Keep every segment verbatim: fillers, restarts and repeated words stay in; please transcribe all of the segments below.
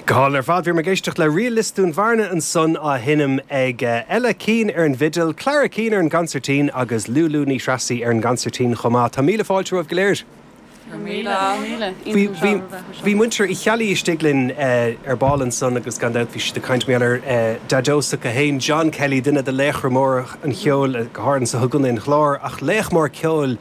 Go hálainn ar fad bhí muid ag éisteacht le Ríl Lios Dúin Bhearna ansan á sheinm ag Ella Keane ar an bhfidil, Clara Keane ar an gconsairtín agus Lulu Ní Threasaigh ar an gconsairtín chomh maith. Tá míle fáilte romhaibh go léir. Bhí muintir Uí Cheallaigh istigh linn ar ball ansan agus gan dabht bhí siad ag caint mar gheall ar Daideo s'acu féin John Kelly duine de laochra móra an cheoil go háirithe anso i gContae an Chláir ach laoch mór ceoil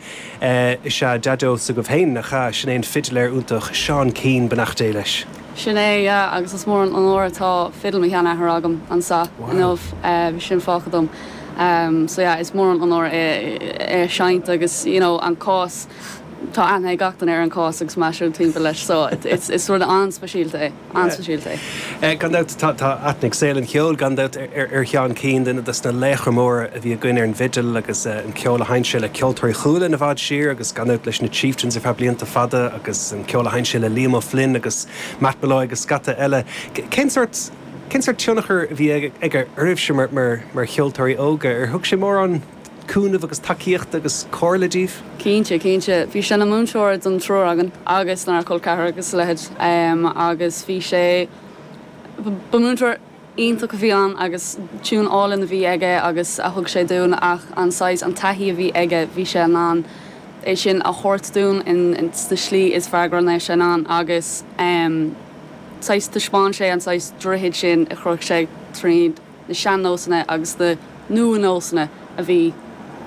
is ea Daideo s'agaibh féin nach ea sin é an fidiléir iontach Seán Keane beannacht Dé leis. Sin é agus is mór an onóir atá fidil mo sheanathar agam anseo inniu bhí sin fágtha dom. Um, so yeah, is mór an onóir é é seinnt agus you know, an cás tá aithne ag gach duine ar an cás agus meisiú timpeall leis so it's, is rud an-speisialta é an-speisialta é. Gan dabht tá aithne ag saol an cheoil gan dabht ar ar Sheán Keane duine des na laochra móra a bhí againn ar an bhfidil agus an ceol a sheinn sé le Ceoltóirí Chualann i bhfad siar agus gan dabht leis na Chieftains ar feadh blianta fada agus an ceol a sheinn sé le Liam O'Flynn agus Matt Molloy agus scata eile. Cén sort cén sort tionchar a bhí aige oraibhse mar mar mar cheoltóirí óga ar thug sé mórán cúnamh agus tacaíocht agus comhairle daoibh? Cinnte cinnte bhí sé ina mhúinteoir don triúr againn agus ná col ceathar agus leithéid um, agus bhí sé ba mhúinteoir iontach a bhí ann agus tiún álainn a bhí aige agus a thug sé dúinn ach an saghas an taithí a bhí aige bhí sé in ann é sin a thabhairt dúinn in, in sna slí is fearr go raibh sé in ann agus um, saghas taispeáin sé an saghas droichead sin a chruthaigh sé tríd na sean-nósanna agus na nua-nósanna a bhí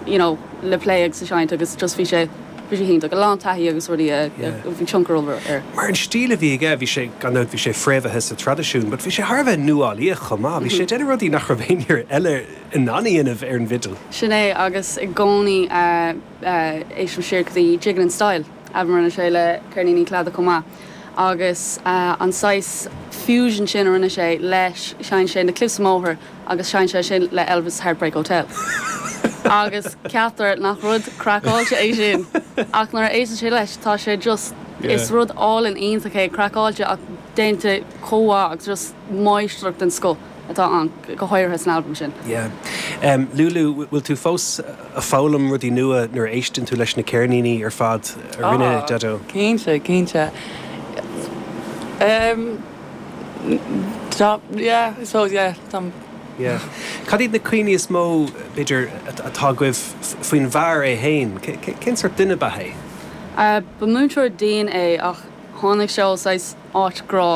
you know, le plé agus a seinnt agus just bhí sé bhí sé iontach a lán taithí agus rudaí bhí tionchar air. Mar an stíl a bhí aige bhí sé gan bhí sé fréamhaithe sa traidisiún, but bhí sé thar a bheith nuálaíoch chomh maith, bhí sé déanamh rudaí nach raibh éinne eile in ann a dhéanamh ar an bhfidil. Sin é agus i gcónaí éistim siar go dtí Jiggin' in Style a rinne sé le Ceirníní Cladaigh chomh maith. agus uh, an saghas fusion sin a rinne sé leis sheinn sé na Cliffs of Moher agus sheinn sé sin le Elvis Heartbreak Hotel. agus ceaptar nach rud craiceáilte é sin ach nuair a éisteann sé leis tá sé just yeah. is rud álainn iontach é craiceáilte ach déanta chomh agus just máistreacht den scoth atá an go háirithe san album sin. Yeah. Um, Lulu, bhfuil tú fós ag foghlaim rudaí nua nuair a éisteann tú leis na ceirníní ar fad a rinne Daideo? Cinnte, cinnte. Um, tá, yeah, I suppose, yeah, tá Yeah. Cad iad na cuimhní is mó b'fhéidir atá agaibh faoin bhfear é féin, cén sort duine ba é? Uh, ba múinteoir dian é ach tháinig sé ó áit grá